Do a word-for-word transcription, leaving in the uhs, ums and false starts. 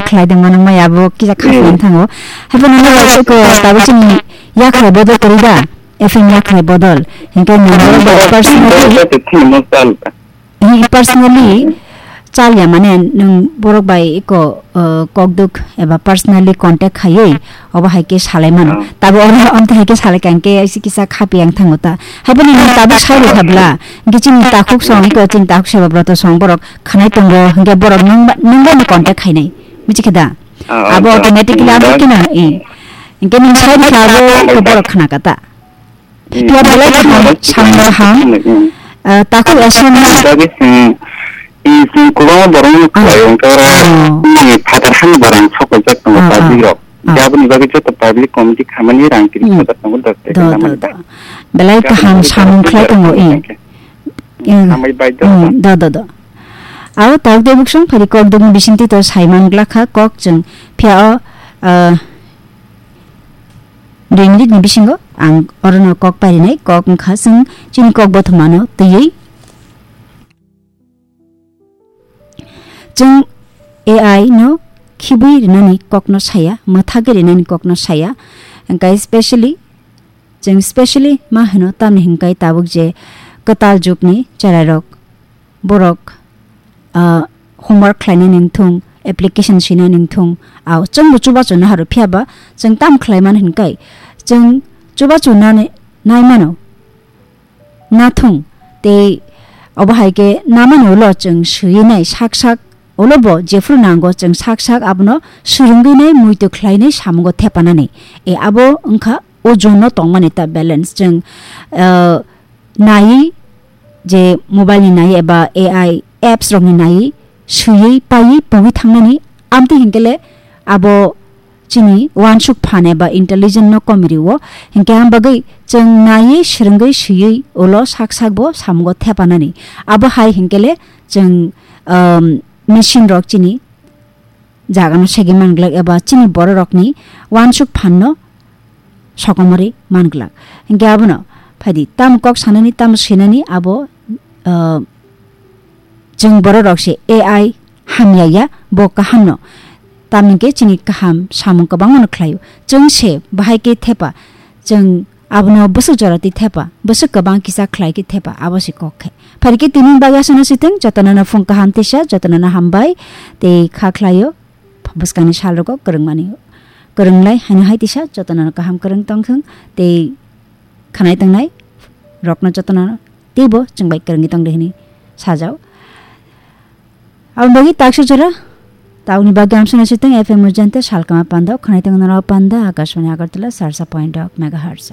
khlai de mano mai abo kisa khasni thango. Haibo nang bai ko tabuk chini yakhrai bodol kori da. F M yakhrai bodol. Hinkhe nang bai personally. Hi personally chalya mane nwng borok bai eko, uh, kokduk eba personally contact khaiwi obo hai khe salai mano. Tabo oro amtwi hai khe salai kha hinkhe aisi kisa khapi ang thango ta. Haiboni nwng tabuk sai rwkha bla. Hinkhe chini takhuk song eko chini takhuk seba broto song borok khanai tongo hinkhe borok nwng ba, nwng bai no contact khainai. Michi khe da? Abo automatically abo khe na, eh. Hinkhe nwng sai rwkha abo eko borok khna kha ta. Phiya belai kaham, samno ham. Ah, takhuk S M ni bagwi chwng, chwng kwbangma borokno khlai, wngkha oro nini phatar hani barang sokoljak tongo public rok. Aboni bagwi joto public committee khamani rang tris hajar tongo, dos tei do, do, namani do. Belai kaham samung khlai tongo, eh. Hambai bai do. Do, do, do. Aro takhuk de buksong phari kok dugni bisingtwi to saiman glakha kok chwng phiya o, ah, Dui minute ni bisingo ang orono kok parinai, kok wngkha chwng chini kok bothomano twiwi. Chwng A I no khibwi rinani kokno saya, mwthagwi rinani kokno saya. Hwnkhe specially, chwng specially ma hwno tamni hwnkhe tabuk je kwtal jugni cherairok borok, ah, homework khlainani wngthung, application swinani wngthung, ah, chwngbo chubachu naharw, phiya ba chwng tamo khlai mano hwn kai, chwng chubachu nani nai mano, nathung, tei obo hai khe namani ulo chwng swiwi nai sak sak, ulo bo jephru nango chwng sak sak abono swrwngwi nai, muitu khlainai samungo thepanani, e abo wngkha o zone no tongmani ta balance. Chwng, ah, naiwi je mobile ni naiwi eba A I apps rok ni naiwi swiwi paiwi pogwi thangnani, amtwi hinkhe le abo chini uansuk phan eba intelligent no komi rio, hinkhe am bagwi chwng naiwi swrwngwi swiwi ulo sak sak bo samungo thepanani. Abo hai hinkhe le chwng, um, machine rok chini jagano segwi manglak eba chini bororokni uansuk phanno sokomorwi manglak. Hinkhe abono phaidi tamo kok sanani, tamo swinani abo, ah, chwng bororok se A I hamya ya, bo kahamno. Tamni khe chini kaham samung kwbangmano khlaio. Chwng se bahai khe thepa, chwng abono bwswk jora twi thepa, bwswk kwbang kisa khlai khe thepa, abo se kok khe. Phari khe tini bagwi aswkno sitwng, jotono no phung kaham tisa, jotono no hambai tei kha khlaio. Bwskangni salrogo kwrwngmani kwrwnglai haino hai tisa jotono no kaham kwrwng tongthwng tei khanai tongnai rokno jotono teibo chwng bai kwrwngwi tongdi hwnwi sajao. Aboni bagwi taksa jora tabukni bagwi amsano sitwng F M Ujante salkama panda o khanai tongnai panda Akashvani Agartala sarsa point megahertz.